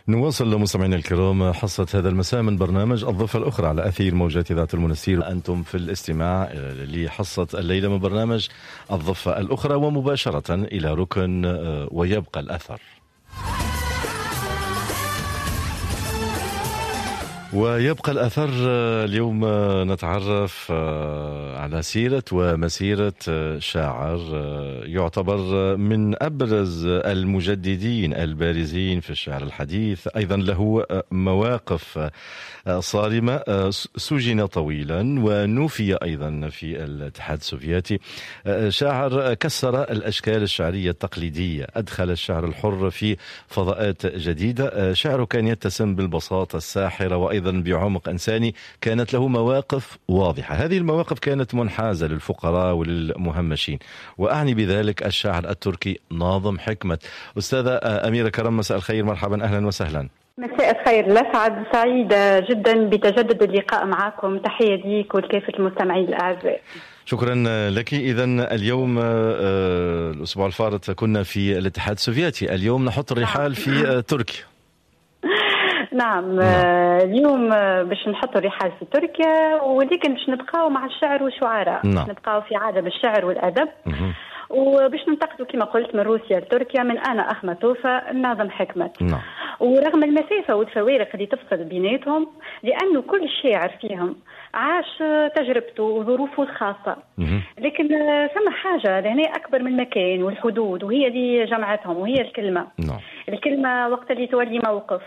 نواصل مستمعينا الكرام حصة هذا المساء من برنامج الضفة الأخرى على أثير موجات إذاعة المنستير. أنتم في الاستماع لحصة الليلة من برنامج الضفة الأخرى، ومباشرة إلى ركن ويبقى الأثر. ويبقى الأثر اليوم نتعرف على سيرة ومسيرة شاعر يعتبر من أبرز المجددين البارزين في الشعر الحديث، أيضا له مواقف صارمة، سجن طويلا ونفي أيضا في الاتحاد السوفيتي. شاعر كسر الأشكال الشعرية التقليدية، أدخل الشعر الحر في فضاءات جديدة. شعره كان يتسم بالبساطة الساحرة وأيضا بعمق إنساني، كانت له مواقف واضحة. هذه المواقف كانت منحازة للفقراء وللمهمشين، وأعني بذلك الشاعر التركي ناظم حكمت. أستاذة أميرة كرم، مساء الخير، مرحبا، أهلا وسهلا. مساء الخير لسعد، سعيدة جدا بتجدد اللقاء معكم، تحية ليك ولكافة المستمعين الأعزاء. شكرا لك. إذا اليوم الأسبوع الفارط كنا في الاتحاد السوفيتي، اليوم نحط الرحال في تركيا. نعم، اليوم باش نحط الرحال في تركيا، ولكن باش نبقاو مع الشعر والشعراء. نعم. نبقاو في عالم الشعر والأدب، وباش ننتقلوا كما قلت من روسيا لتركيا، من أنا أخماتوفا ناظم حكمت. نعم. ورغم المسافة والفوارق اللي تفصل بيناتهم، لأنه كل شاعر فيهم عاش تجربته وظروفه الخاصة، لكن ثم حاجة لهنا أكبر من المكان والحدود، وهي اللي جمعتهم، وهي الكلمة. نعم. الكلمة وقت اللي تولي موقف،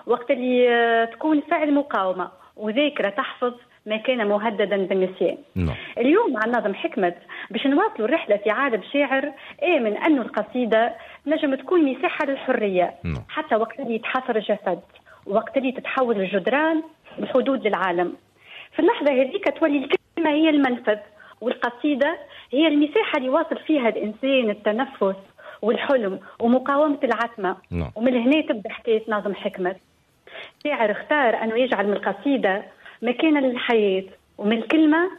وقت اللي تكون فعل مقاومة وذاكرة تحفظ ما كان مهددا بالنسيان. نعم. اليوم مع ناظم حكمت باش نواصلوا الرحلة في عالم شاعر آمن أنه القصيدة نجم تكون مساحة للحرية. نعم. حتى وقت اللي يتحصر الجسد، وقت اللي تتحول الجدران الحدود للعالم، في اللحظة هذيك تولي الكلمة هي المنفذ، والقصيدة هي المساحة اللي واصل فيها الإنسان التنفس والحلم ومقاومة العتمة. نعم. ومن هنا تبدأ حكاية ناظم حكمت. شاعر اختار أنه يجعل من القصيدة مكان للحياة، ومن الكلمة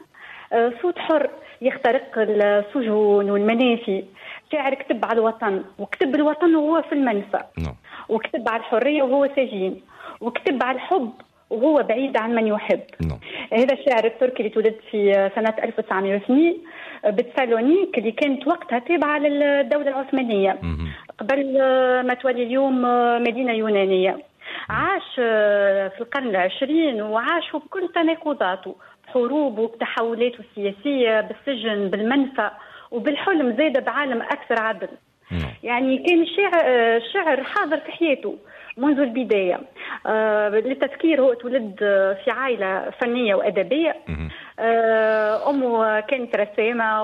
صوت حر يخترق السجون والمنافي. شاعر كتب على الوطن، وكتب الوطن وهو في المنفى. نعم. وكتب على الحرية وهو سجين، وكتب على الحب وهو بعيد عن من يحب. نعم. هذا الشاعر التركي اللي تولد في سنة 1902 بتسالونيك، اللي كانت وقتها تابعة للدولة العثمانية قبل ما تولي اليوم مدينة يونانية. عاش في القرن العشرين، وعاش بكل تناقضاته، بحروبه، بتحولاته السياسية، بالسجن، بالمنفى، وبالحلم زاد بعالم أكثر عدل. يعني كان الشعر حاضر في حياته منذ البداية. للتذكير، هو تولد في عائلة فنية وأدبية. أمه كانت رسامة.